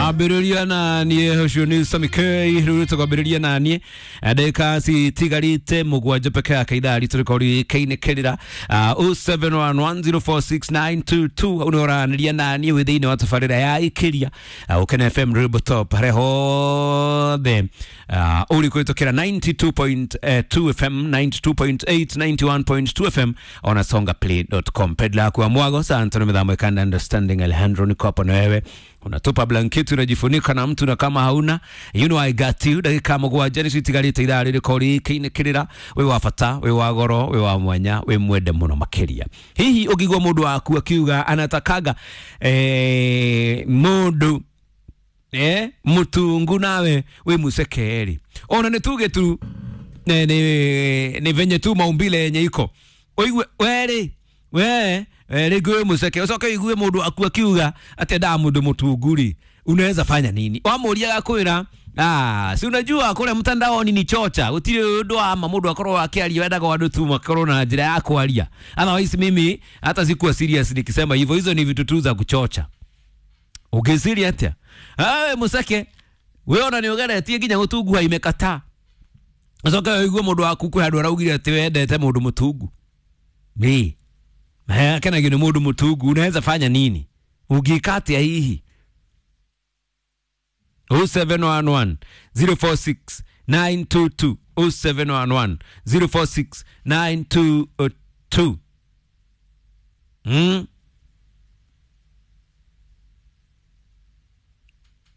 Ambĩrĩria na niĩ ũcio nĩ Sami K rĩu tũkwambĩrĩria na niĩ ndagĩka citigarĩte mũgwanja peke yake ithaa ritũ rĩkorwo rĩkĩinĩkĩrĩra 0711046922 hau nĩ ũranĩria na niĩ wĩ thĩinĩ wa tabarĩra ya ĩkĩria Ũkene FM Rwĩmbo Top harĩa hothe ũrĩ kũhĩtũkĩra 92.2 FM 92.8 91.2 FM ona songaplay.com. Pedla yako ya mwago Santo mĩthamo ikanda understanding Alejandro niko hapo na wewe unatupa blanketi unajifunika na mtu na kama hauna you know I got you. Ndagĩka mũgwanja nĩcio itigarĩte ithaa rĩrĩ rĩkĩinĩkĩrĩra. Wĩ wa bata, wĩ wa goro, wĩ wa mwanya, wĩ mwende mũno makĩria. Hihi ũngĩigua mũndũ waku akiuga anatakaga mũndũ mutungu nawe wĩ musekeri ona nĩ tuge tu nĩ venye tu maumbile yenye iko ũigue werĩ we rĩngĩ wĩ mũceke ũcoke ũigue mũndũ aku akiuga atĩ endaga mũndũ mũtungu rĩ unaweza fanya nini? Wamũria agakwĩra ah, si unajua kule mtandaoni ni chocha, gũtirĩ ũndũ wa ma mũndũ akorwo akĩaria wendaga andũ tu makorwo na njĩra ya kwaria. Otherwise mimi hata sikuwa serious nikisema hivyo, hizo ni vitu tu za kuchocha. Ũngĩciria atĩa? Ah, mũceke we ona nĩ ũgeretie nginya gũtunguha imekataa, ũcoke ũigue mũndũ waku kwĩ handũ araugire atĩ wendete mũndũ mũtungu. Ĩ akenagio nĩ mũndũ mũtungu, unaweza fanya nini? Ũngĩka atĩa hihi? 0711 046 922 0711 046 922.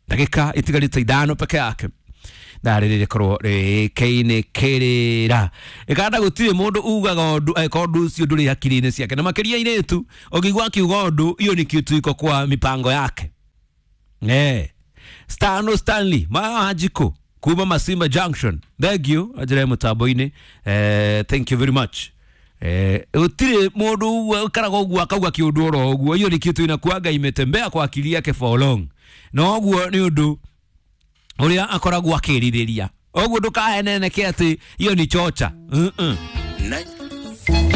Ndagĩka itigarĩte ithano peke yake ndarĩ rĩkorwo rĩkĩinĩkĩrĩra ĩkanda gũtirĩ mũndũ ugaga ũndũ angĩkorwo ũndũ ũcio ndũrĩ hakiri-inĩ ciake na makĩria airĩtu ũngĩigua akiuga ũndũ hiyo ni kitu iko kwa mipango yake. Stano Stanley Majiko kuma Masimba Junction, thank you ajira mũtambo-inĩ, thank you very much. Gũtirĩ mũndũ ũkaraga ũguo akauga kĩũndũ oro ũguo, hiyo ni kitu inakuaga imetembea kwa akili yake for long, na ũguo nĩ ũndũ ũrĩa akoragwo akĩrirĩria. Ũguo ndũkaheneneke atĩ hiyo ni chocha.